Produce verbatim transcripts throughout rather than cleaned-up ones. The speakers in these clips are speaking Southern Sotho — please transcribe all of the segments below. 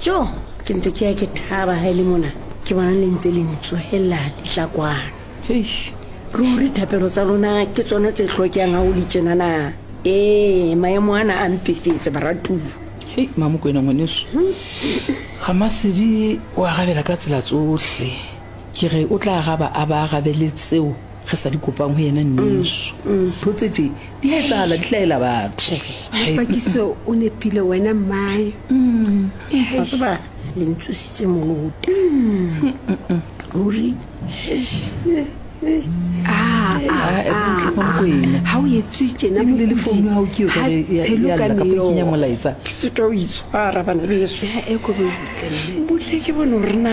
Jo, ke ntse ke ya ke thaba ha e le mona. Ke bona le ntse le ntsohella ditlakwana. Eish. Ruri thapelo tsa lona ke tsona tse hlokehang ha o le tjenana. Ee, maemo ana a mpefetse baratuwa. Hei, Mamokwena ngwaneso. Ramasedi o arabela ka tsela tsohle. Ke re o tla araba a ba arabele tseo re sa di kopang ho yena nneso. Ntho tse tje di a etsahala, di hlahela batho. Hei, Pakiso o nepile wena mmae. Wa tseba le ntsositse molota. Ruri Ah, ah, eh, butle, Mamokwena. Ha o etswe tjena Ebile le mokudi, founu ya hao ke eo ha ka re ya- tshelo ya ka lla kapa e kenya meokgo. molaetsa. ke sitwa ho itshwara bana beso. Eh, e ko be butle mme. Butle ke bone hore na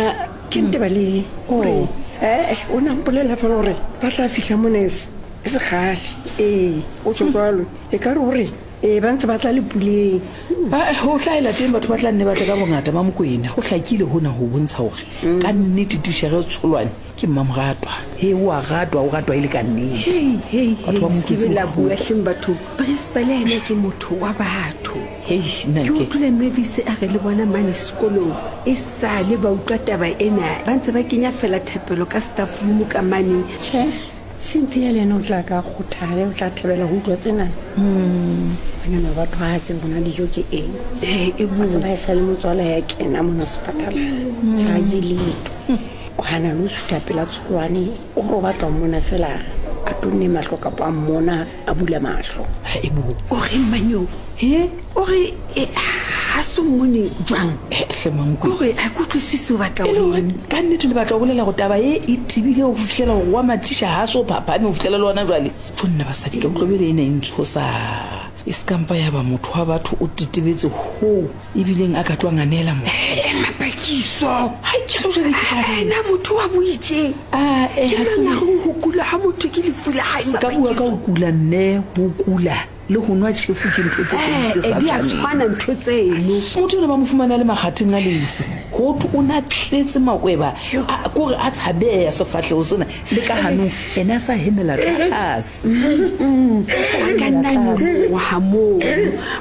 ke nteba le hore eh o na mpolela fela hore ba tla fihla mona e se e se kgale. Ee, o tjho jwalo. E ka re hore ee ba ntse ba tla le puleng. Ah, eh, ho hlahela teng batho ba tla nne ba tle ka bongata Mamokwena. Ho hlakile hona ho bontsha hore ka nnete titjhere Tsholwane ke mmamoratwa. He, o a ratwa, o ratwa e le ka nnete. Hei, hei, Batho ba hei, mo se utlwetse be la bohloko. bua hleng batho. Principal yena ke motho wa batho. Hei, nna Ke ke- utlwile Mavis a re le bona mane sekolong e sale ba utlwa taba ena, ba ntse ba kenya fela thapelo ka staff room ka mane. Tjhe, Cynthia le yena o tla ka kgothale, o tla thabela ho utlwa tsena. Banyana batho ha tsebe bona dijo ke eng. Eh, e Wa bo. tseba e sale motswala ya kena mona sepatala. Ha je letho. O hana le ho sutha pela Tsholwane. O re o batla ho mmona fela a tonne mahlo kapa a mmona a bula mahlo. Ha, e bo. O reng manyeo? He? O re, eh, ha so mmone jwang? Eh, hle Mamokwena. Ke hore ha ke utlwisise o batla E le ho hore eng. ka nnete le batla ho bolela hore taba e e tebile ho fihlela hore wa Matisha ha so phaphame ho fihlela le hona jwale. Tjo nna basadi, ka utlwa bele ena e ntshosa. E se ka mpa ya ba motho wa batho o tetebetse hoo ebileng a ka tloha nganela mo. Eh, Mapakiso. Hai, ke re jwale ke tla reng? Ena motho wa boitjeng. Ah, eh, Ke ha se mang a reng ho kula ha motho ke lefu la hae, Nka bua ka ho kula nne, ho kula le ho nwa tjhefu ke ntho tse pedi tse Eh, sa eh, di a tshwaneng. tshwana ntho tseno. Motho ena ba mo fumana le makgatheng a lefu. Ho thwe o na tletse makweba, a- kore a tshabeha sefahleho sena le ka hanong, ena a sa hemela tlase. A ka nna nyoloha moo.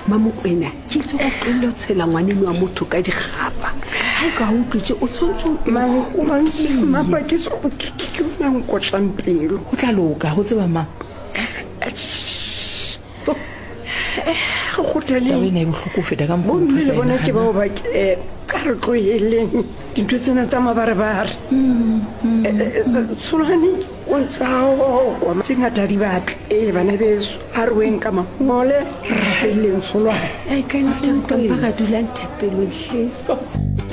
Mamokwena, ke itse go tlohelle ho tshela ngwaneno wa motho ka dikgapa. Ha e ka ha o utlwe tje, o tshwanetse o- o tiye. Mapakiso ke ke ke ona nkotlang pelo. Ho tla loka, ho tseba mang? Re kgothaleng. Taba ena e bohloko ho feta ka mokgwa Bomme motho a le ka e bona ke nahanang. bao ba ke, eh, ka re tloheleng dintho tsena tsa mabarebare. Eh, eh, eh, Tsholwane o ntse a okwa tse ngata di batle. Ee, bana beso, ha re weng ka mangole, re rapelleng Tsholwane. Ai, ka nnete nka mpa ra dulang thapelong hle.